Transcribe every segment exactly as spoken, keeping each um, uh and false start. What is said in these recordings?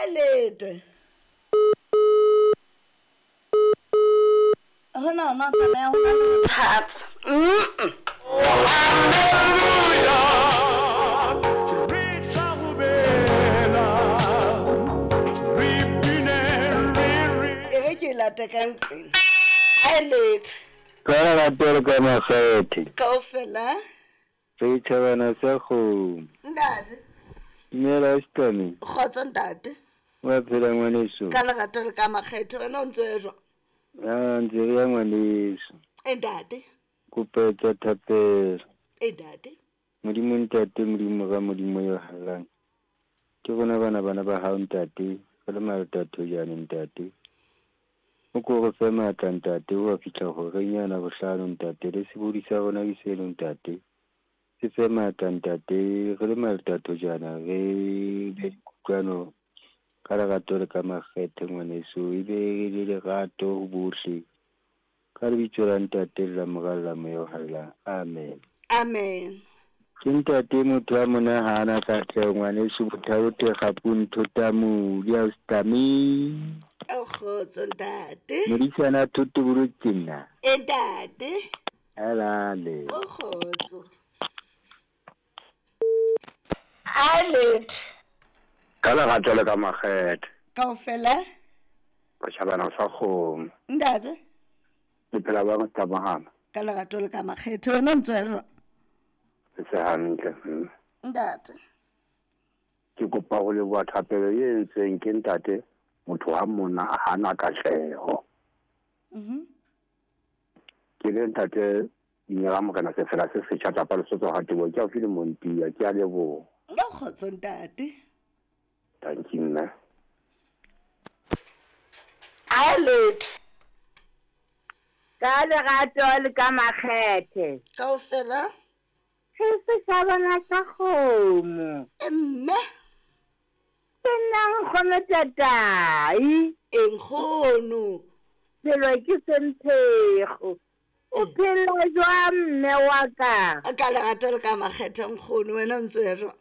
A letwe. Hona hona tsamaya ho na le bothata. Mm. E re ke e late ka nqeng. A letwe. Ka lerato le ka makgethe. Kaofela. Setjhabana sa kgomo. Ntate. Dumela Stami. Kgotso ntate. Wa phela ngwaneso. Ka lerato le ka makgethe wena o ntso e jwang? Ah, ntse re ya ngwaneso. E ntate. Kopa etsa thapelo. E ntate. Modimo ntate, Modimo ra Modimo yo hallang. Ke rona bana bana ba hao ntate, re le malata jane ntate. O ko re fe matla ntate, o a fihla horeng yana bohlano ntate, le sebodi sa rona ke seno ntate. Se fe matla ntate, re le malata jana re be kutlwano ka lerato le ka makgethe ngwaneso, e be re le lerato ho bohle. Ka lebitso la ntate le la Mora le la Moya o Halalelang. Amen. Amen. Ke ntate motho a monahana katleho ngwaneso, Bothaote Kgapung Thota Modi a Stami. O kgotso ntate. Modisana thoto bolotse nna. E ntate. Alale. O kgotso. A letwe. Ka lerato le ka makgethe. Kaofela. Setjhabana sa kgomo. Ntate. Le phela ba Mostamahana. Ka lerato le ka makgethe wena o ntso e jwang? Se hantle. Mme. Ntate. Ke kopa ho leboha thapelo e entsweng ke ntate motho wa monna a hana katleho. Mhm. Ke le ntate Dinela Morena Sefela se setjha tapa Lesotho ha tebo ke haufi le Montia, ke a leboha. Ka kgotso ntate. Thank you mme. A letwe. Ka lerato le ka makgethe. Kaofela. Ke setjhabana sa kgomo. E mme. Ke nna nkgono tatai. E nkgono. Phelo ke semphego. O phela jwang mme wa ka? Ka lerato le ka makgethe nkgono, wena o ntso ya jwang?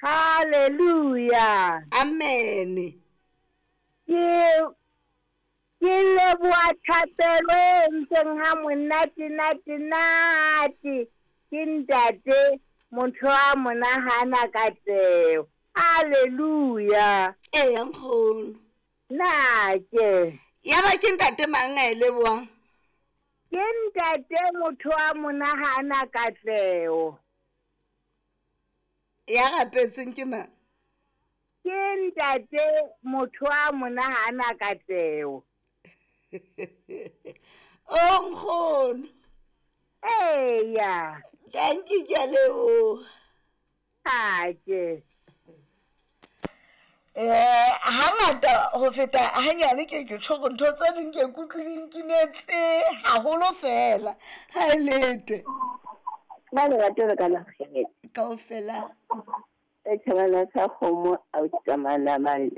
Hallelujah. Amen. Ke ke leboha thapelo e entseng ha monate nate nate. Ke ntate motho wa monahana katleho. Hallelujah. Eya nkgono. Na ke. Ya ba ke ntate mang a e lebohang? Ke ntate motho wa monahana katleho. Ya rapetseng ke mang? Ke ntate motho wa monahana katleho. O nkgono. Eya. Thank you, ke a leboha. Ake. Eh, hangata ho feta hanyane ke ke tjho hore ntho tse ding ke kutlwe di nkimetse haholo fela. Ha e letwe. Ba lerato le ka makgethe. Kaofela. Setjhabana sa kgomo a o tsamana mane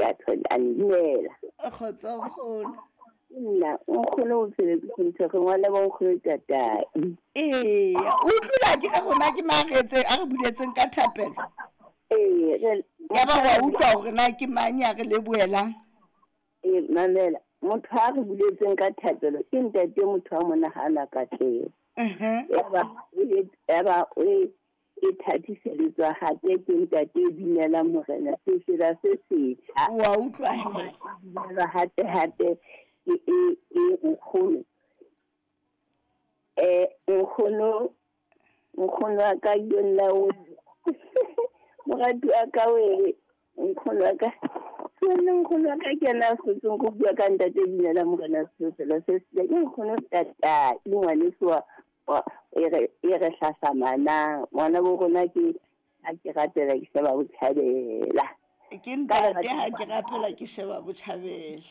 a nnela. Kgotso nkgono. Nna nkgono o phele ke ntho re ngwana bo nkgono tatai. Ee, o utlwile ke ka rona ke mang re etse a re buletseng ka thapelo. Ee, re Ya ba wa utlwa hore na ke mang ya re lebohelang? Ee, mamela, motho a re buletseng ka thapelo ke ntate motho wa monahana katleho. Mhm. Ya ba ya ba o e thathiseletswa hape ke ntate e binela Morena sefela se setjha. Wa utlwa he. Binelwa hape hape ke e e nkgono. Eh nkgono nkgono wa ka yona o morati wa ka we nkgono wa ka. Nna nkgono wa ka ke yena a hlotseng go bua ka ntate binela Morena sefela se setjha. Ke nkgono tata ngwaneso wa wa e re e re hlahlamanang ngwana bo rona ke ha ke rapela ke sheba botjhabela. Ke ntate ha ke rapela ke sheba botjhabela.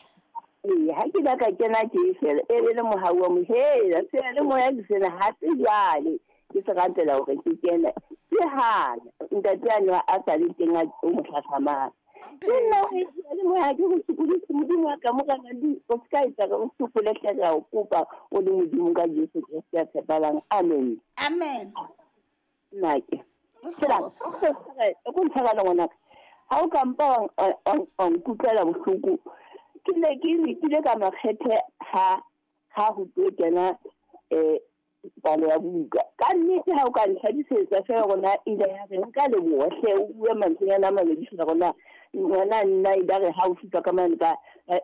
Ee, ha ke la ka kena ke fela e be le mohau wa mohela se le moya ke sena ha se jwale ke se rapela hore ke kene ke hana ntate a no a sa le teng a o mo hlahlamang. Ke nna ho le moya ke go sokodise Modimo wa ka morena di o ska etsa re o sokole hle re a o kopa o le Modimo ka Jesu Kreste a tshepalang. Amen. Amen. Nna ke. Tsela, o ko ntshwara le ngwanaka. Ha o ka mpa wa nkutlwela bohloko, ke ne ke lekile ka makgethe ha ha ho tlo kena um palo ya buka. Ka nnete ha o ka ntlhadisetsa fela rona ile ya re nka leboha hle, o bue mantswenyana a mabedi fela rona ngwana nna ile re ha o fihla ka mane ka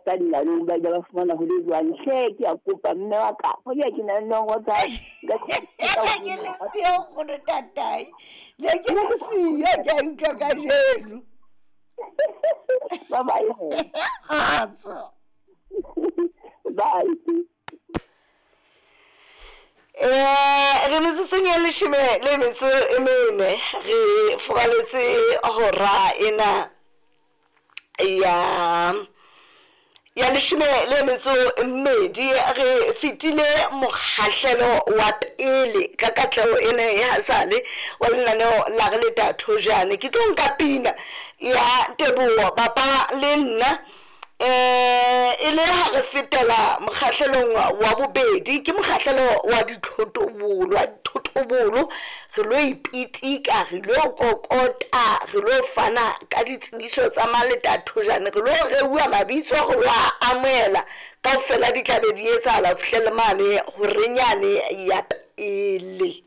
ka dinalong ba ile ba fumana ho le jwang. Hle ke a kopa mme wa ka, hoja ke na le nomoro tsa ke le siyo nkgono tatai, ne ke le siyo, ke a utlwa kajeno. Bye bye. Kgotso. Bye. Eh, re metsotsong ya leshome le metso e mene, re furaletse hora ena ya ya leshome le metso e mmedi. Re fetile mokgahlelo wa pele ka katleho ena ya sale wa lenaneo la Re Leta Thojane. Ke tlo nka pina ya teboho papa le nna eh e le ha re fetela mokgahlelong wa bobedi, ke mokgahlelo wa dithotobolo, wa dithotobolo. Re lo ipitika, re lo kokota, re lo fana ka ditsebiso tsa Maleta Thojane, re lo reuwa mabitso, re lo a amohela kaofela, di tla be di etsahala ho fihlele mane horenyane ya pele.